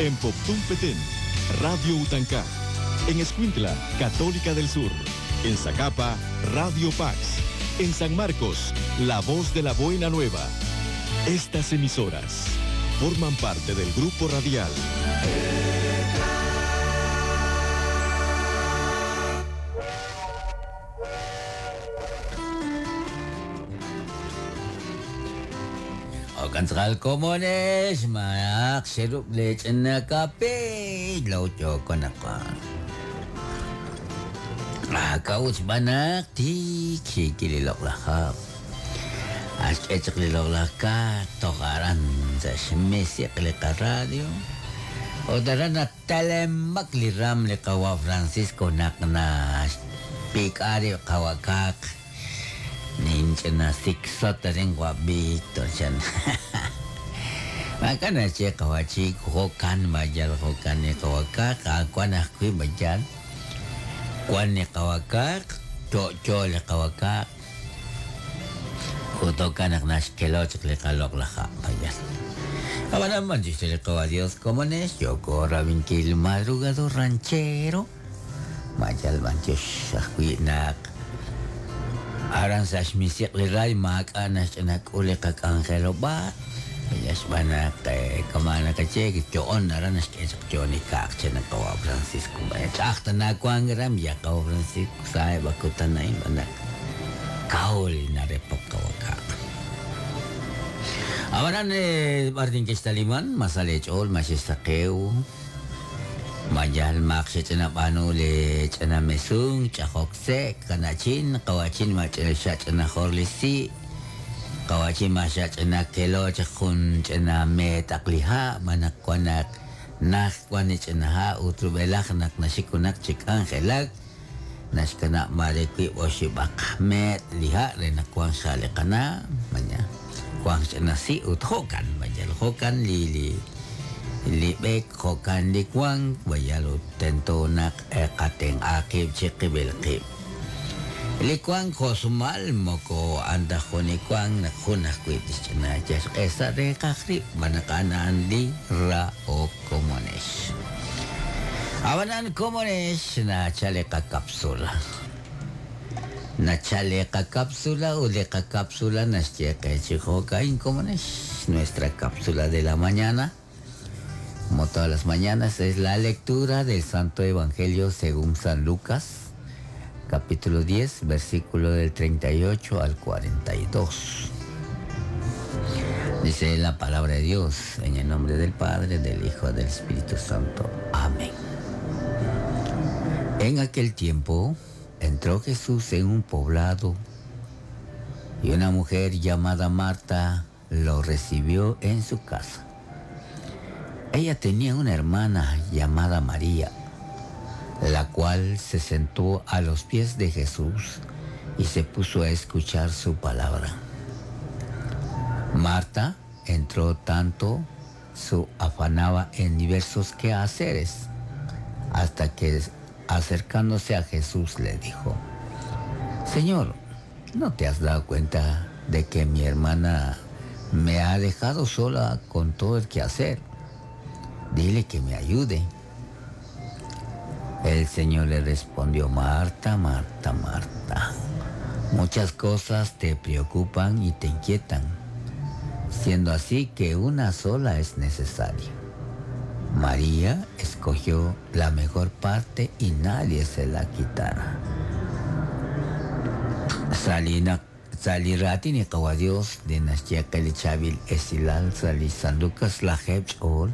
En Poptún Petén, Radio Utancá. En Escuintla, Católica del Sur. En Zacapa, Radio Pax. En San Marcos, La Voz de la Buena Nueva. Estas emisoras forman parte del grupo radial. Okantzal komonex maq xerub lech'na kape lawchokonaq Akawch b'anaq tik xikililoqlajab Axk'echqliloqlajka toqaran sa xmisiq li radio Otaran natalemak li ram li qawa Francisco naqna pik'ari qawakaq ninch'na siksota rin wa Víctor chan Makana che qawachik jokan mayal jokan ni qawakaq akuan ajwi mayal Kuan ni qawakaq cho'cho li qawakaq Utokan naxkeloch li qaloq laja mayal Abanan manchiste qawa Dios como nes yoko rabinkil madrugado ranchero Mayal manchos ajwi naq Aran sa xmisiq li ray maak'a naxch'inak'ul li qak'anjelob'a Yaxb'anaq kamana kache cho'on aran naxk'echaq cho'on ikaq chanaqawa Francisco ch'aqta nakuan ram yaqawa Francisco sae bakutanay b'anaq kawl narepok qawakaq Abanan b'artin kixtaliman masale ch'ol maxistaqew Mayal maq xech'inab'anu le ch'inamesun ch'ajok sek kanachin qawachin ma ch'ina xa'ch'ina jor li si' qawachin ma xa'ch'ina kelo jun ch'ina metaq li ha' manaq wanaq naj wan ch'ina ha' utrub'elaj naq naxikunak chik'anjelak naxkanab' mare wib' oxib'aq met li ha' re naq wan xa' li qana' maña wan ch'ina si' ut jo'kan mayal jo'kan li li li b'eek jo'kan li wan mayal ut tento naq qatenq'a qib' chiqib'il qib' li wan jo'sumal moko anta jun li wan naq jun ajwi' tixch'ina yaxq'e sa' reeqaj rib' manaq a'an li ra'ok komonex Abanan komonex nachal li qakapsula nachal li qakapsula ut li qakapsula naxye qe chi jo'ka'in komonex nuestra cápsula de la mañana como todas las mañanas, es la lectura del Santo Evangelio según San Lucas, capítulo 10, versículo del 38 al 42. Dice la palabra de Dios, en el nombre del Padre, del Hijo, del Espíritu Santo. Amén. En aquel tiempo entró Jesús en un poblado y una mujer llamada Marta lo recibió en su casa. Ella tenía una hermana llamada María, la cual se sentó a los pies de Jesús y se puso a escuchar su palabra. Marta entró tanto, su afanaba en diversos quehaceres, hasta que acercándose a Jesús le dijo: Señor, ¿no te has dado cuenta de que mi hermana me ha dejado sola con todo el quehacer? Dile que me ayude. El Señor le respondió: Marta, Marta, Marta, muchas cosas te preocupan y te inquietan, siendo así que una sola es necesaria. María escogió la mejor parte y nadie se la quitará. Salina Salirati ni qawa Dios de naxye qe li chaab'il esilal sa' li San Lucas lajeb' ch'ool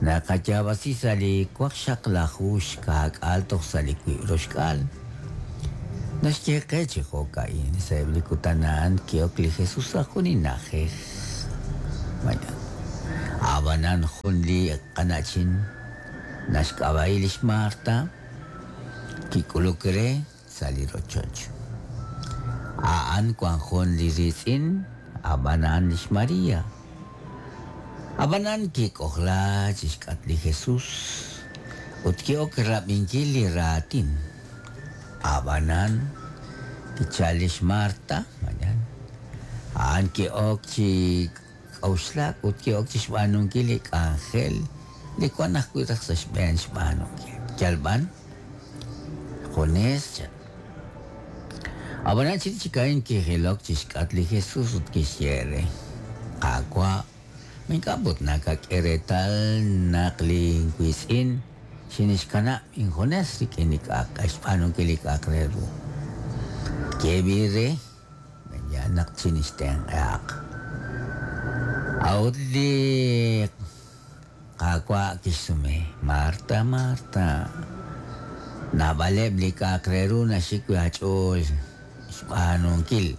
naqayab'asi sa' li waqxaqlaju xka'k'aal toj sa' li wib' roxk'aal naxye qe chi jo'ka'in sa'eb' li kutan a'an ki'ok li Jesús sa' jun li na'ajej mañana ab'anan jun li qana'chin naxk'ab'a'i lix Marta kik'uluk re sa' li rochoch a'an wan jun li riitz'in ab'an a'an lix María Ab'anan kik'ojla chixk'at li Jesús ut ki'ok rab'inkil li raatin ab'anan kichal lix Marta mañana a'an ki'ok chi k'auxlak ut ki'ok chixb'aanunkil li k'anjel Li wan ajwi' raj sa' xb'een xb'aanunkil. Yal b'an junes chan. Ab'anan chirix chik a'in kijilok chi xk'atq li Jesús ut kixye re, Qaawa', ma ink'a' put nakak'e reetal naq linwiitz'in xinixkanab' injunes rik'in li k'a'aq xb'aanunkil li k'a'aq re ru? Yeeb'il re, Yaal naq chinixtenq'ahaq. A'ut li Qaawa' kixsume, Marta, Marta, naab'aleb' li k'a'aq re ru naxik wi' aach'ool xb'aanunkil,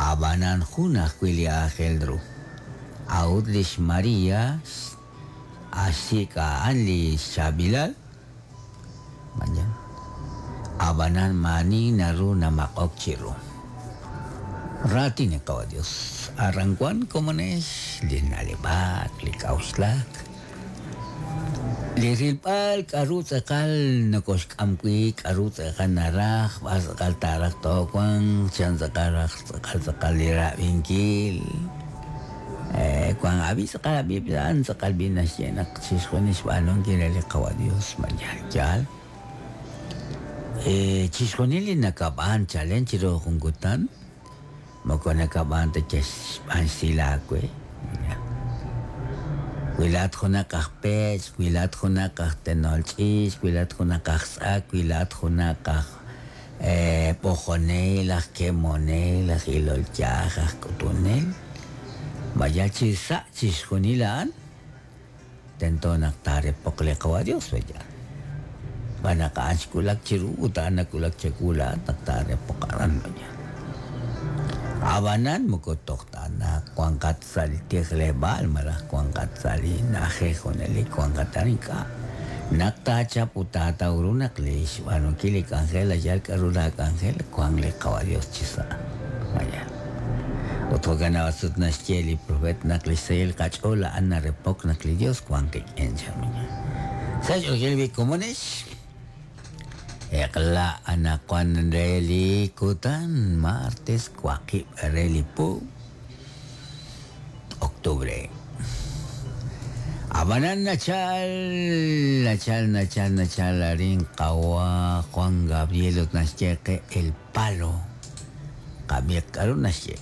a'b'anan jun ajwi' li aajel ru. A'ut li xMaria xsik' a'an li xchaab'ilal, A'b'anan maa'ani naru namaq'ok chiru. Raatin li Qawa' Dios. Aran wan komonex li na'leb'ak, li k'a'uxlak, li rilb'al k'a'ru tz'aqal nokoxk'am wi', k'a'ru tz'aqal naraj, b'ar tz'aqal taaraj toowanq, chan tz'aqal raj tz'aqal tz'aqal li rab'inkil. Wank ab'i tz'aqal ab'i a'an tz'aqal b'i naxye naq chixjunil xb'aanunkil re li Qawa' Dios ma yaal yaal. Chixjunil li nakab'aan chalen chiru jun kutan moko nakab'aan ta yal xb'aan xsahil aawe. Wi laa'at junaq aj peech', wi laa'at junaq aj tenol ch'iich', wi laa'at junaq aj tz'ak, wi laa'at junaq aj b'ojonel, aj kemonel, aj ilol yaj, aj k'utunel. Ma yal chi sa' chixjunil a'an, tento naq taarepoq li Qawa' Dios, pe'yaal? Xb'aan naq a'an xwulak chiru ut a'an nawulak chawu laa'at naq taarepoq aran, pe'yaal? A'b'anan moko toj ta naq wanqat sa' li tijleb'aal malaj wanqat sa' li na'ajej junelik wanqat aran, ink'a'. Naq taachap ut taataw ru naq li xb'aanunkil li k'anjel ayal k'a'ru laa k'anjel, wank li Qawa' Dios chi sa'. Mayal. Ut jo'kan naq sut naxye li profeet naq lix sahil qach'ool a'an narepok naq li Dios wank qik'in, chan Mañana. Sa' xch'oolil wi' komonex, eq'la anaqwan re li kutan martes waqib' re li po octubre. Ab'anan nachal, nachal, nachal, nachal arin qawa Juan Gabriel ut naxye qe El Palo. Qab'iiq k'a'ru naxye.